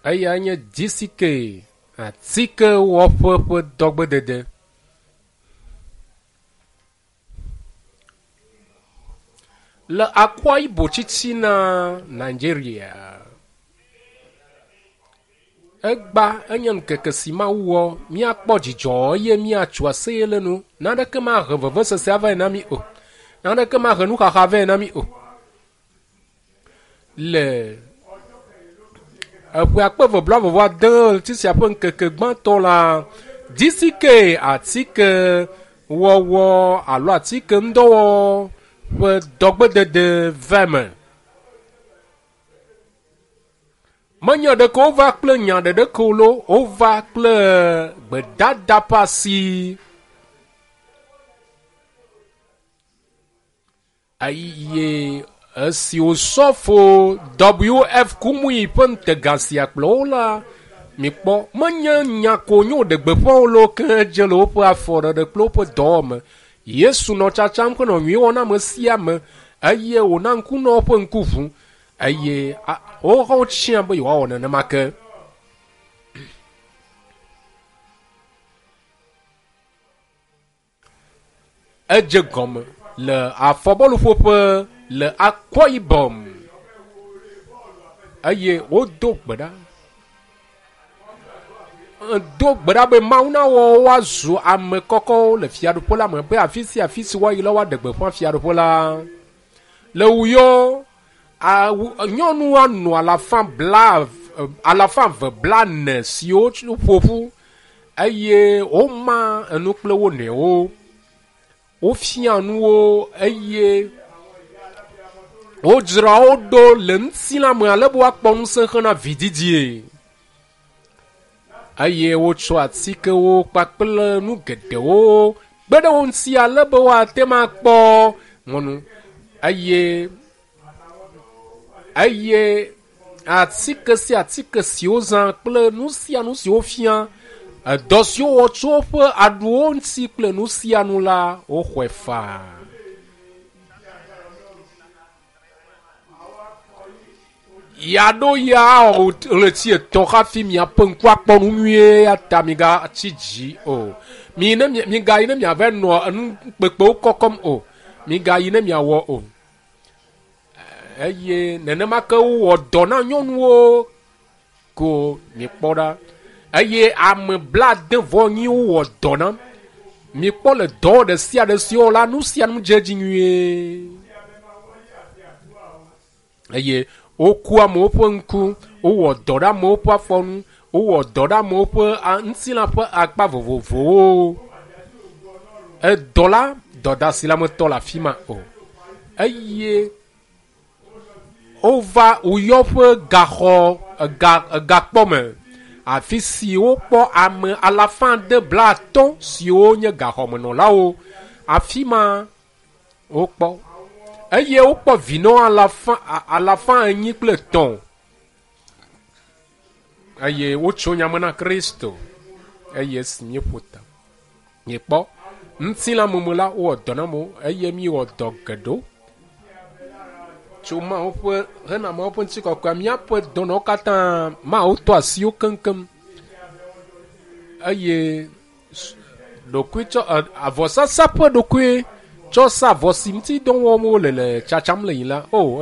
Eya nye GCK atikewɔƒe ƒe dɔgbedede. Le Akwa Ibom titina Nigeria. Egba enye ŋkeke si Mawu wɔ míakpɔ dzidzɔ eye míatso aseye le nu. Naneke mahe vevesese avae na mí o. Naneke mahe nuxaxa vɛ na mí o. Le eƒe akpe eve blaeve vɔ ade ɣleti sia ƒe ŋkeke gbãtɔ la, GCK atike wɔwɔ alo atike ŋdɔwɔwɔ ƒe dɔgbedede va eme. Menye ɖeke wova kple nya ɖeɖeke o loo, wova kple gbedada ƒe asi. Eye esi Osɔfo WF Kumuyi ƒe ŋutega sia kplɔ wo la, mikpɔ, menye nya ko wonye woɖe gbeƒã wo loo ke edze le woƒe afɔɖeɖe kple woƒe dɔwɔwɔ me. Yesu nɔ tsatsam henɔ nyui wɔm na ame sia ame eye wòna ŋkunɔwo ƒe ŋku ʋu eye wohã wotsiã be yewoawɔ nenema ke. Edze gɔme le afɔbɔluƒoƒe le Akwa Ibom eye wodo gbe ɖa. Do gbe ɖa be Mawu nawɔ woazu ame kɔkɔwo le fiaɖuƒe la me be afi sia afi si woayi la woaɖe gbeƒã fiaɖuƒe la. Le Uyo, nyɔnu anɔ alafa bla alafa eve blaene siwo ƒo ƒu eye woma enu kple wo nɔewo. Wofia nu wo eye wodzra wo ɖo le ŋutilã me ale be woakpɔ ŋusẽ hena vididie. Eye wotsɔ atikewo kpakple nu geɖewo kpe ɖe wo ŋuti ale be woate ŋu akpɔ mɔnu eye eye atike sia atike si wozã kple nu sia nu si wofia, edɔ si wowɔ tso woƒe aɖuwo ŋuti kple nu sia nu la, woxɔe faa. Yeaɖo ya awɔ ɣleti etɔ̃ hafi miaƒe ŋku akpɔ nu nyuie eya ta migatsi dzi o. Mi ne migayi ne miava nɔ enu kpekpewo kɔkɔm o. Migayi ne miawɔ o. Eye nenema ke wowɔ dɔ na nyɔnuwo ko mikpɔ ɖa. Eye ame blaade vɔ enyi wowɔ dɔ na. Mikpɔ le dɔ ɖe sia ɖe si wowɔ la, nu sia nu dze edzi nyuie. Eye woku amewo ƒe ŋku, wowɔ dɔ ɖe amewo ƒe afɔ nu, wowɔ dɔ ɖe amewo ƒe ŋutilã ƒe akpa vovovowo. Edɔ la, dɔdasi la metɔ le afi ma o. Eye wova Uyɔ ƒe gaxɔ ega egakpɔ me afi si wokpɔ ame alafa ade blaatɔ̃ siwo nye gaxɔmenɔlawo. Afi ma wokpɔ eye wokpɔ vinɔ alafa alafa enyi kple etɔ̃ eye wotso nya me na Kristo eye esi míeƒo ta míekpɔ ŋutilãmeme la wowɔ dɔ na amewo eye míewɔ dɔ geɖewo tso Mawu ƒe hena Mawu ƒe ŋutikɔkɔea míaƒe dɔnɔwo katã Mawu tɔ asi wo keŋkeŋ eye ɖokuitsɔ avɔsasa ƒe ɖokui tsɔ sa avɔ si ŋuti dɔ wɔm wole le tsatsam le yi la o.